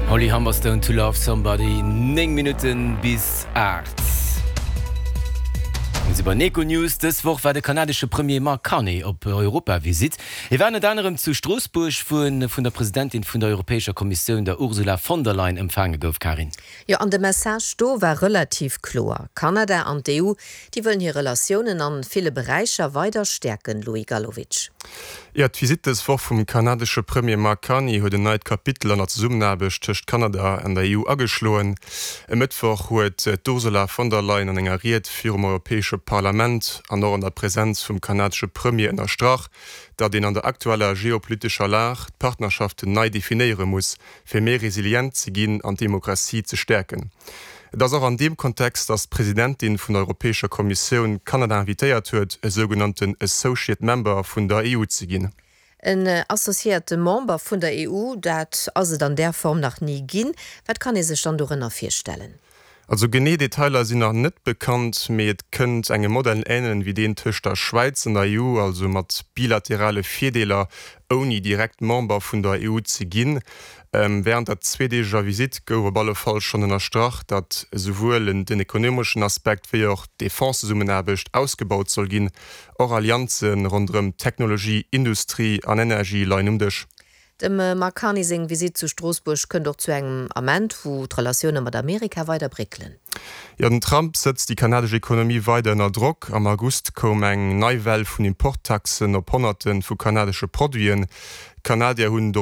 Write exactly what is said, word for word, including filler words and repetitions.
Holly Humberstone To Love Somebody néng Minutten bis aacht. Mir si bei Econews. Dës Woch war de kanadesche Premier Mark Carney op Europavisitt. Hie war ënnert anerem zu Stroossbuerg wou en vun der Presidentin vun der Europäescher Kommissioun der Ursula von der Leyen empfaange gouf Karin. Jo an de Message do war relativ kloer. Kanada an d'EU, déi wëllen hir Relatiounen a ville Beräicher weider stäerken Louis Galowitsch. Ja, d'Visitt dës Woch vum kanadesche Premier Mark Carney huet en neit Kapitel an der Zesummenaarbecht tëscht Kanada an der EU ageschloen. E Mëttwoch huet d'Ursula von der Leyen an enger Ried virum Europäesche Parlament an och an der Presenz vum kanadesche Premier ënnerstrach, datt een an der aktueller geopolitescher Lag d'Partnerschaften nei definéiere muss, fir méi resilient ze ginn an d'Demokratie ze stäerken. Et ass och an deem Kontext, datt d'Presidentin vun der Europäescher Kommissioun Kanada invitéiert huet, e sougenannten Associate Member vun der EU ze ginn. En associéierte Member vun der EU, dat ass et an där Form nach ni ginn. Wat kann ee sech dann dorënner virstellen? Also genee Detailer sinn nach net bekannt, mee et kënnt engem Modell änelen wéi deen tëscht der Schwäiz an der EU, also mat bilaterale Virdeeler ouni direkt Member vun der EU ze ginn. Ähm, wärend der zweedeegeger Visitt gouf op alle Fall schonn ënnerstrach, datt esouwuel den ekonomeschen Aspekt wéi och d'Defense-Zesummenaarbecht ausgebaut soll ginn. Och Allianze ronderëm Technologie, Industrie an Energie leien um Dësch. Dem Mark Carney seng Visitt zu Stroossbuerg kënnt och zu engem Ament, wou d'Relatioune mat Amerika weider bréckelen. Jo, den Trump setzt déi kanadesch Ekonomie weider ënner Drock. Am August koum eng nei Well vun Importtaxen op Honnerte vu kanadesche Produiten. Kanadier hunn